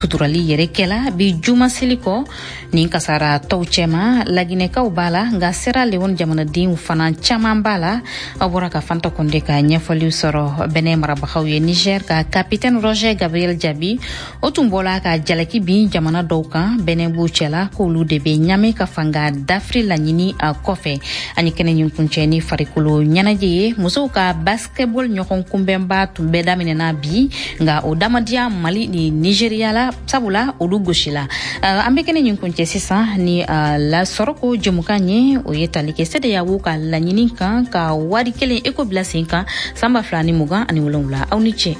Suturali yɛrɛ kɛla bi juma seli kɔ nin kasaratɔw cɛma, Laginɛkaw b'a la, nka Sierra Leone jamanadenw fana caman b'a la. Aw bɔra ka Fanta Konde ka ɲɛfɔliw sɔrɔ. Bɛnɛ marabagaw ye Niger ka capitaine Roger Gabriel Jaabi, o tun bɔla ka jalaki bin jamana dɔw kan, Bɛnɛ b'u cɛla, k'olu de bɛ Ɲame ka fanga dafiri laɲini a kɔfɛ. Ani kɛnɛ ɲin kuncɛ ni farikolo ɲɛnajɛ ye, musow ka basketball ɲɔgɔn kunbɛnba tun bɛɛ daminɛna bi, nka o damadiya Mali ni Nigeria la, sabula olu gosila. An bɛ kɛnɛ ɲin kuncɛ sisan ni la sɔrɔko jɛmukan ye, o ye tali kɛ CEDEAO ka laɲini kan ka wari kelen eko bila sen kan san 2027. Aw ni ce.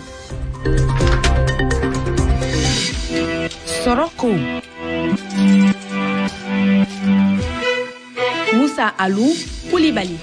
Sɔrɔko, Musa Alu Kulibali.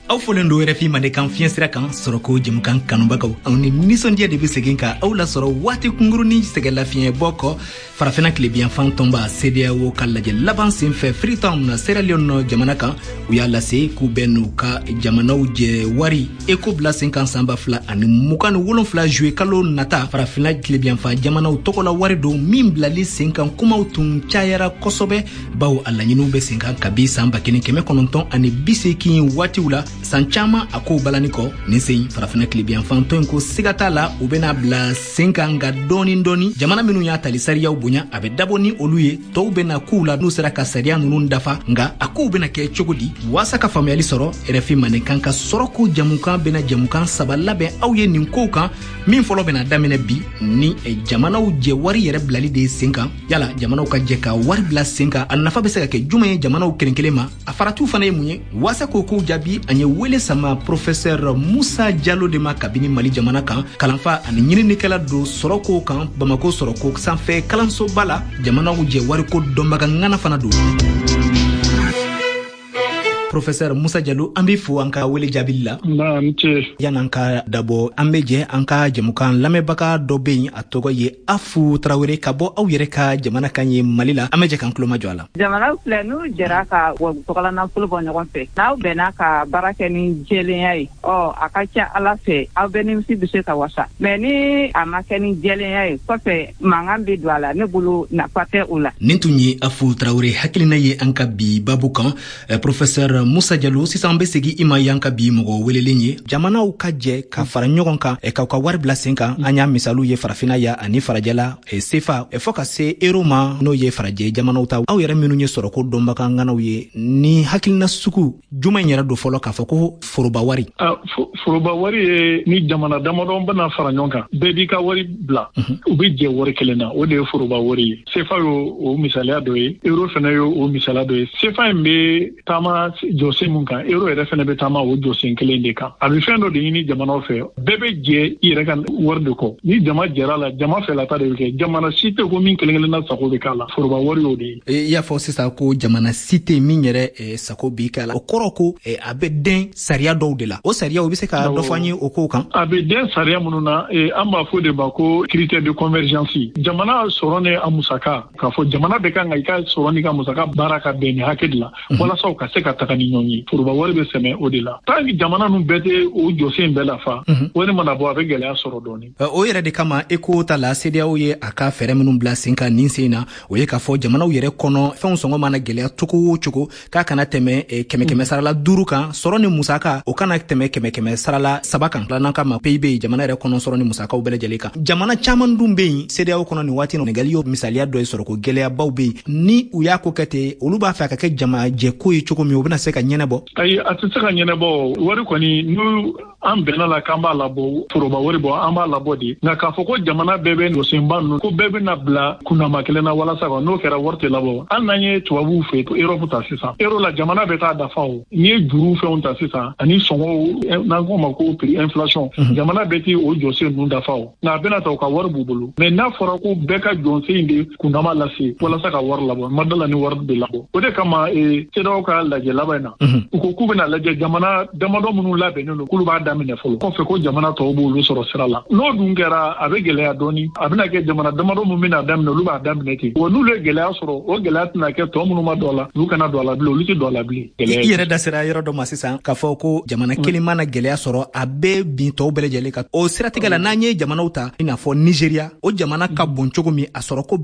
Aw folen do RFI Mandenkan fiɲɛ sira kan. Sɔrɔko jɛmukan kanubagaw, aw ni nisɔndiya de bɛ segin ka aw lasɔrɔ waati kunkurunin sɛgɛlafiɲɛbɔ kɔ. Farafina tilebiyanfan tɔnba CEDEAO ka lajɛ laban sen fɛ Freetown na, Sierra Leone jamana kan, u y'a lase k'u bɛ n'u ka jamanaw jɛ wari eko bila sen kan san 2027 juillet kalo nata. Farafina tilebiyanfan jamanaw tɔgɔla wari don min bilali sen kan kumaw tun cayara kosɛbɛ, bawo a laɲiniw bɛ sen kan kabi san 1980 waatiw la. San caman a kow balani kɔ, nin sen Farafina tilebiyanfan tɔn in ko siga t'a la, u bɛna bila sen kan, nka dɔɔni dɔɔni. Jamana minnu y'a tali sariyaw bonya, a bɛ dabɔ ni olu ye, tɔw bɛna k'u la n'u sera ka sariya ninnu dafa. Nka a kow bɛna kɛ cogo di? Waasa ka faamuyali sɔrɔ, RFI Mandenkan ka sɔrɔko jamukan bɛna jamukan saba labɛn aw ye nin kow kan. Min fɔlɔ bɛna daminɛ bi ni jamanaw jɛ wari yɛrɛ bilali de ye sen kan. Yala jamanaw ka jɛ ka wari bila sen kan, a nafa bɛ se ka kɛ jumɛn ye jamanaw kelen kelen ma? A faratiw fana ye mun ye? Waasa k'o kow jaabi, an ye wele sama professeur Musa Jalo de ma kabini Mali jamana kan. Kalanfa ani ɲininikɛla don sɔrɔkow kan Bamako sɔrɔko sanfɛ kalansoba la. Jamanaw jɛ wariko dɔnbaga ŋana fana don. Professeur Musa Jalo, an b'i fo an ka wele jaabili la. Yan'an ka dabɔ, an bɛ jɛ an ka jɛmukan lamɛnbaga dɔ bɛ yen, a tɔgɔ ye Afu Tarawele, ka bɔ aw yɛrɛ ka jamana kan ye Mali la. An bɛ jɛ k'an tulomajɔ a la. Jamana filɛ, n'u jɛra ka tɔgɔla nafolo bɔ ɲɔgɔn fɛ, n'aw bɛnna ka baara kɛ ni jɛlenya ye, ɔ a ka ca Ala fɛ, aw bɛɛ nimisi bɛ se ka wasa. Mais ni a ma kɛ ni jɛlenya ye, kɔfɛ mankan bɛ don a la. Ne bolo, nafa tɛ o la. Nin tun ye Afu Tarawele hakilina ye an ka bi babu kan. Professeur Musa Jalo, sisan an bɛ segin i ma yan ka bi mɔgɔ welelen ye. Jamanaw ka jɛ ka fara ɲɔgɔn kan k'aw ka wari bila sen kan, an y'a misaliw ye Farafina ya ani farajɛla, sefa fɔɔ ka se euro ma, n'o ye farajɛ jamanaw ta. Aw yɛrɛ minnu ye sɔrɔko dɔnbaga ŋanaw ye, ni hakilina sugu juman yɛrɛ don fɔlɔ k'a fɔ ko foroba wari? Foroba wari ye ni jamana damadɔ bɛna fara ɲɔgɔn kan, bɛɛ b'i ka wari bila, u bɛ jɛ wari kelen na, o de ye foroba wari ye. Sefa y'o o misaliya dɔ ye, euro fana y'o o misaliya dɔ ye. Sefa in bɛ taama jɔsen mun kan, euro yɛrɛ fana bɛ taama o jɔsen kelen de kan. A bɛ fɛn dɔ de ɲini jamanaw fɛ, bɛɛ bɛ jɛ i yɛrɛ ka wari de kɔ. Ni jama jɛra la, jama fɛlata de bɛ kɛ. Jamana si tɛ ko min kelen kelenna sago bɛ k'a la. Foroba wari y'o de ye. I y'a fɔ sisan ko jamana si tɛ min yɛrɛ sago b'i k'a la, o kɔrɔ ko a bɛ den sariya dɔw de la. O sariya, o bɛ se ka dɔ fɔ an ye o kow kan? A bɛ den sariya minnu na, an b'a fɔ de ma ko critère de convergence. Jamana sɔrɔ ni a musaka, k'a fɔ jamana bɛ kan ka i ka sɔrɔ n'i ka musaka baara ka bɛn nin hakɛ de la, walasa u ka se ka taga ni ɲɔgɔn ye. Foroba wari bɛ sɛmɛ o de la. Tant que jamana ninnu bɛɛ tɛ o jɔsen bɛɛ lafa, wari mana bɔ, a bɛ gɛlɛya sɔrɔ dɔɔnin. O yɛrɛ de kama, eko ta la, CEDEAO ye a ka fɛɛrɛ minnu bila sen kan nin sen na, o ye k'a fɔ jamanaw yɛrɛ kɔnɔ fɛnw sɔngɔ mana gɛlɛya cogo o cogo, k'a kana tɛmɛ kɛmɛ kɛmɛ sarala 5 kan. Sɔrɔ ni musaka, o kana tɛmɛ kɛmɛ kɛmɛ sarala 3 kan, n'an k'a ma PIB, jamana yɛrɛ kɔnɔ sɔrɔ ni musakaw bɛɛ lajɛlen kan. Jamana caman dun bɛ yen CEDEAO kɔnɔ nin waati, Senegali y'o misaliya dɔ ye, sɔrɔko gɛlɛyabaw bɛ yen. Ni u y'a ko kɛ ten, olu b'a fɛ a ka kɛ jamajɛko ye cogo min, o bɛna se ka ɲɛnabɔ? Ayi, a tɛ se ka ɲɛnabɔ. Wari kɔni, n'u an bɛnna la k'an b'a labɔ, foroba wari bɔ, an b'a labɔ de. Nka k'a fɔ ko jamana bɛɛ bɛ jɔsenba ninnu, ko bɛɛ bɛna bila kundama kelen na walasa ka n'o kɛra, wari tɛ labɔ. Hali n'an ye tubabuw fɛ Europe ta sisan, euro la, jamana bɛ taa dafa. O n'i ye juru fɛnw ta sisan ani sɔngɔw, n'an k'o ma ko prix inflation, jamana bɛɛ tɛ o jɔsen ninnu dafa. O nka a bɛna ta, u ka wari b'u bolo. Mais n'a fɔra ko bɛɛ ka jɔsen de kundama lase walasa ka wari labɔ, ma da la ni wari bɛ labɔ. O de kama CEDEAO ka lajɛ laban in na, u ko k'u bɛna lajɛ jamana damadɔ minnu labɛnnen don, k'olu b'a daminɛ fɔlɔ, kɔfɛ ko jamana tɔw b'olu sɔrɔ sira la. N'o dun kɛra, a bɛ gɛlɛya dɔɔni. A bɛna kɛ jamana damadɔ min bɛna daminɛ, olu b'a daminɛ ten wa. N'olu ye gɛlɛya sɔrɔ, o gɛlɛya tɛna kɛ tɔ minnu ma don a la, olu kana don a la bilen, olu tɛ don a la bilen. I yɛrɛ da sera yɔrɔ dɔ ma sisan k'a fɔ ko jamana kelen mana gɛlɛya sɔrɔ, a bɛ bin tɔw bɛɛ lajɛlen kan. O siratigɛ la, n'an ye jamanaw ta, i n'a fɔ Nigéria, o jamana ka bon cogo min, a sɔrɔ ko